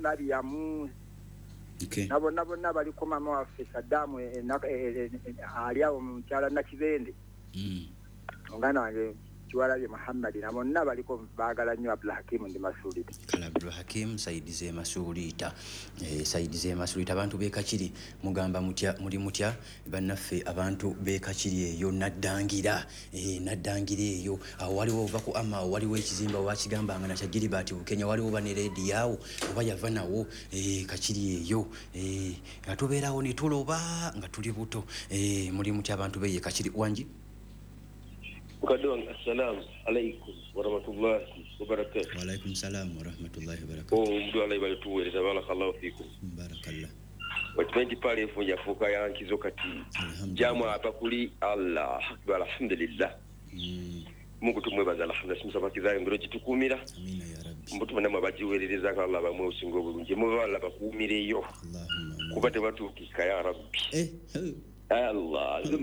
Mariamu. Okay. Na bonna bonna baliko. Mama waffe Saddamu ali awo mukyala Nakibende. Muganda wange Kiwalabye Muhammadi na bonna baliko, baagala nnyo Abdulhakimu, ndi Masuulita. Kale, Abdulhakim, side z'e Masuuliita, side z'e Masuuliita. Abantu b'e Kakiri mugamba mutya? Muli mutya bannaffe abantu b'e Kakiri eyo? Naddangira, Naddangira eyo awo waliwo, ova ku ama awo waliwo ekizimba wakigambanga nakya Gilbert Bukenya, waliwo oba ne rediyo awo oba yava nawo. Kakiri eyo, nga tubeerawo ne tuloba nga tuli buto. Muli mutya abantu b'eye Kakiri? Wangi? Mukadde wange, assalamu alaikum warahmatullahi wabarakatu. Waalaikum salaamu warahmatullahi wabarakatu. Omudu alayi balituweereza, barakallahu fikum. Barakallah. Okimanyi nti Pearl FM yafuuka yankizo kati? Alhamdulillah. Jamu ava kuli Allah akbar, alhamdulillah. Mungu tumwebaza, alhamdulillah, simusabakizayo ngero gitukuumira. Amina ya rabbi. Mbutu namwe bagiweererezako, Allah bamwe osinga obulungi, muba Allah bakuumireyo. Allahumma amin. Kuba tebatuukika ya rabbi. Allah, nze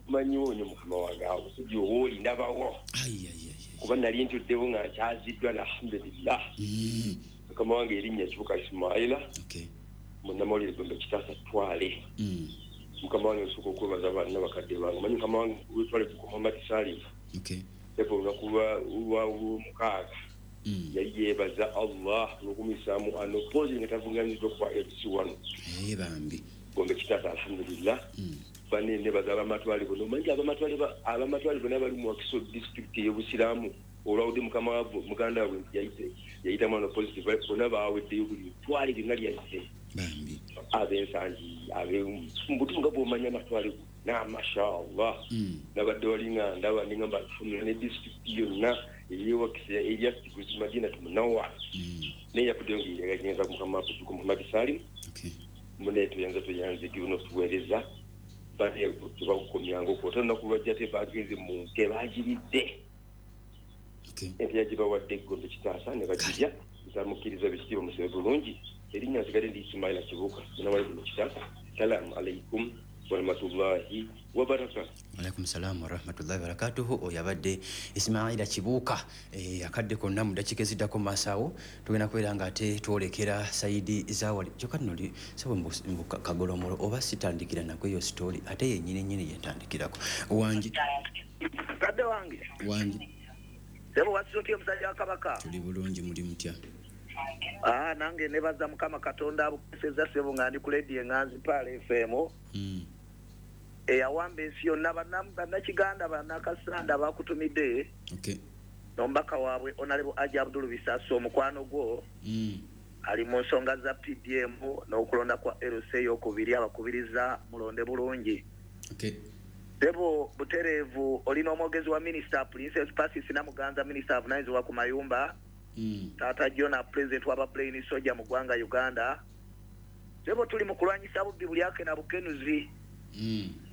manyiwo nyo mukama wange awo sijja owooli ndabawo. Ai, ai, ai, ai. Kuba nali ntuddewo nga nkyaziddwa, alhamdulillah. Mukama wange, erinnya Kibuka Ismaila. Munnamawulire Gombe Kitaasa Twale. Mukama wange, nsooka okwebaza banna bakadde bange. Manyi mukama wange wetwale ku Muhammad Salim. Epo olunaku lwa 6 yali yeebaza Allah n'okumisaamu ano pozi nga tavuganyiddwa kuba MC wano. Bambi. Gombe Kitaasa, alhamdulillah. Bane nebaza abamatwale bonna. Omanyi abamatwale bonna bali mu Wakiso District ey'obusiraamu, olwawudde mukama waabwe muganda waabwe nti yayitamu ano positive, bonna baaweddeyo, buli twale lyonna lyazze. Bambi. Ab'ensangi, mbutufu nga bw'omanya amatwale gonna, mashallah. Nabadde wali nga ndaba nengamba alhamdulillah, ne disitulikiti yonna ey'Ewakisa erya Madinatu Munawwara. Naye yakuddeyo ngaeyagenza mukama waffe Muhammad Salim. Mune tuyanza tuyanzigi notuweereza bane tebakukomyanga okwo ate olunaku lwajja tebagenze mu nte bagiridde. Ente yagibawadde Eggombe Kitaasa ne bagirya, nsamukkiriza bikitiibwa musibe bulungi. Erinnya nsigadde ndi Ismaila Kibuuka, munawali Gombe Kitaasa. Salaamu alaikum warahmatullahi wabarakatu. Alaikum salaamu warahmatullahi wabarakatuhu. Oyo abadde Ismaila Kibuuka. Akadde konna mu dakiika eziddako mu maaso awo tugenda kubeera nga ate twolekera side zawali. Kyokka nno sabo mbu kagolomolo oba sitandikira nako eyo story, ate yennyini nnyini yentandikirako. Wangi? Mukadde wange. Wangi? Sebo, wasiza otya omusajja wa Kabaka? Tuli bulungi, muli mutya? Ah, nange nebaza Mukama Katonda abukeseza, sebo, nga ndi ku lediyo eŋŋanzi Pearl FM eyawamba ensi yonna. Bannakiganda, bannakasanda bakutumidde n'omubaka waabwe Honorable Haji Abdul Bisaso, omukwano gwo ali mu nsonga za PDM n'okulonda kwa LC eyokubiri, abakubiriza mulonde bulungi. Sebo, butereevu olina omwogezi wa Minisita Princess Pasis Namuganza, minisita avunanyizibwa ku mayumba, Taata Jona, president w'aba Plain Soja mu ggwanga Uganda. Sebo, tuli mu kulwanyisa bubbi bulyake na bukenuzi.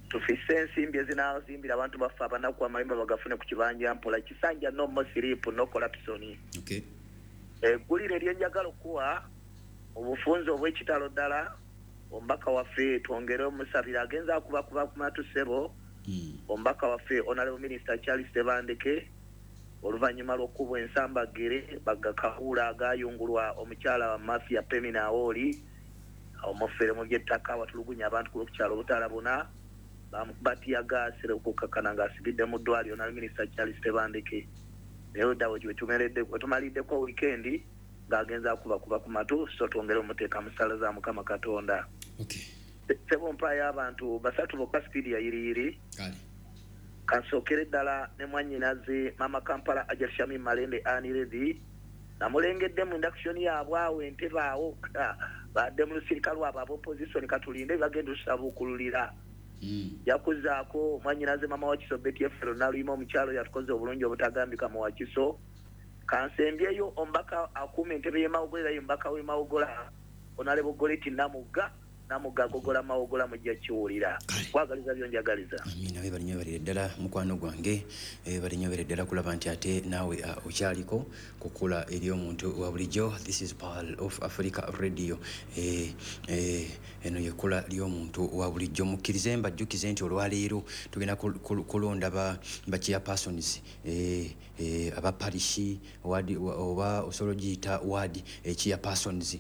Tufise ensimbi ezinaazimbira abantu baffe abanaku amayumba bagafune ku kibanja mpola, kisanja, no more sleep, no corruption. Eggulire eryenjagala okuwa obufunze obw'ekitalo ddala, omubaka waffe twongere omusabira, agenza akubakuba ku matu, ssebo. Omubaka waffe Honorable Minister Charles Tebandeke, oluvannyuma lw'okkubwa ensambagere bagakawuula agayungulwa omukyala wa mafia Pemina Awooli, omufere mu by'ettaka watulugunya abantu ku kyalo Butalabuna, bamukuba teargas okukakkana ng'asibidde mu ddwaliro. Honorable Minister Charles Tebandeke naye odda wetumaliddeko wiikendi ng'agenza akubakuba ku matu, so twongere omuteeka mu ssala za Mukama Katonda. Sebo, mpaayo abantu basatu bokka, speed ya yiriyiri. Kale. Kansookere ddala ne mwannyinaze Mama Kampala Ajat Shamim Malende Aniredi, namulengedde mu induction yaabwe awo entebe awo, badde mu lusirika lwabwe aba opposition, katulinde bagenda otusabuukululira. Yakuzaako mwannyinaze Mama Wakiso Betty Efero Naluyima, omukyalo yatukoze obulungi obutagambika mu Wakiso. Kansembyeyo omubaka akuuma entebe y'e Mawogola, era ye mubaka w'e Mawogola, Honorable Goreti Namugga. Namugga agogola Mawogola, mujja kiwulira. Kwagaliza byonjagaliza. Amiina, webale nnyo, balire ddala mukwano gwange. Bali nnyo, balire ddala kulaba nti ate naawe okyaliko kukula eri omuntu wa bulijjo. This is Pearl of Africa Radio. Eno yekkula ly'omuntu wa bulijjo. Mukkirize mbajjukize nti olwaleero tugenda kulonda ba chairpersons, aba parish, ward, oba osobola ogiyita ward chairpersons.